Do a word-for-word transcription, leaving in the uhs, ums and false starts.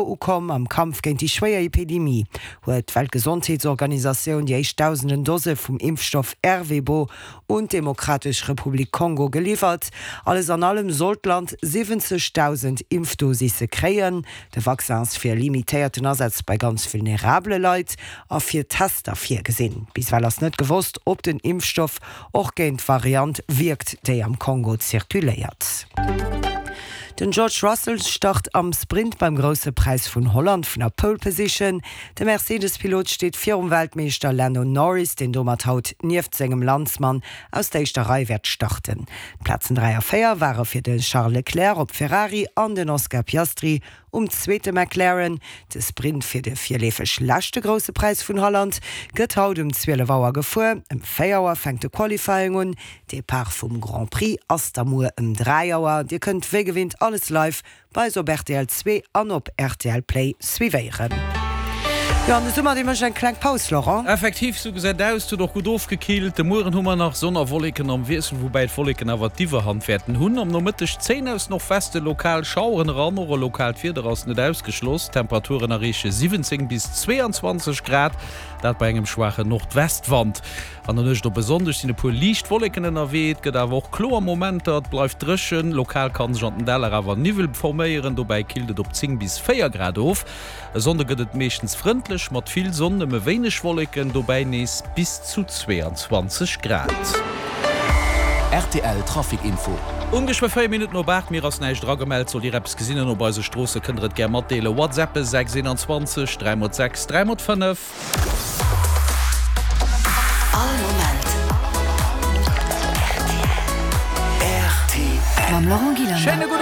Ukomm. Am Kampf géint déi schwéier Epidemie huet d'Weltgesondheetsorganisatioun déi éischt dausenden Dose vum Impfstoff Ervebo un d'Demokratesch Republik Kongo geliwwert. Alles an allem soll d'Land siwwenzegdausend Impfdosisse kréien. De Vaccin ass fir limitéierten Asaz bei ganz vulnerabele Leit a fir Tester virgesinn. Bis ewell ass net gewosst, ob den Impfstoff och géint d'Variant wierkt, déi am Kongo zirkuléiert. Den George Russell start am Sprint beim Grousse Präis vun Holland vun der Pole Position. De Mercedes-Pilot steet virum Weltmeeschter Lando Norris, deen domat haut nieft sengem Landsmann aus der éischter Rei wäert starten. D'Plazen dräi a véier ware fir de Charles Leclerc op Ferrari an den Oscar Piastri um zweete McLaren. De Sprint fir de virleefeg leschte Grousse Präis vun Holland gëtt haut um zwielef Auer gefuer. Ëm véier Auer fänkt de Qualifying un. Depart vum Grand Prix ass da muer ëm dräi Auer. Dir kënnt wéi gewinnt alles live bei eis op rtl zwee an op rtl Play suivéieren. Jo, an de Summer, dee mécht eng kleng Paus, Laurent. Effektiv, sou gesäit aus. Et huet och gutt ofgekillt. De Mueren hu mer nach Sonn a Wolleken am Wiessel, woubäi d'Wolleken awer d'Iwwerhand wäerten hunn. Am Nomëtteg zéien aus Nordweste lokal Schaueren eran, och e lokaalt Wieder ass net ausgeschloss. D'Temperaturen erreeche siwwenzéng bis zweeanzwanzeg Grad, dat bei engem schwaachen Nordwestwand. An der Nuecht op e Sonndeg sinn e puer liicht Wolleken ënnerwee, et gëtt awer och kloer Momenter, et bleift dréchen. Lokal kann sech an den Däller awer Niwwel forméieren, dobäi killt et op zéng bis véier Grad of. E Sonnde gëtt et meeschtens frëndlech mat vill Sonn, nëmme wéineg Wolleken, dobäi nees bis zu zweeanzwanzeg Grad. Rtl Trafic Info. Um geschwë véier Minutten op aacht, mir ass näischt eragemellt. Sollt Dir eppes gesinn hunn op eise Stroosse, kënnt Der et gär matdeelen. WhatsAppe sechs eenanzwanzeg dräi mol sechs dräi mol fënnef. All Moment rtl. Mam Laurent Gillander. Schéine gudde.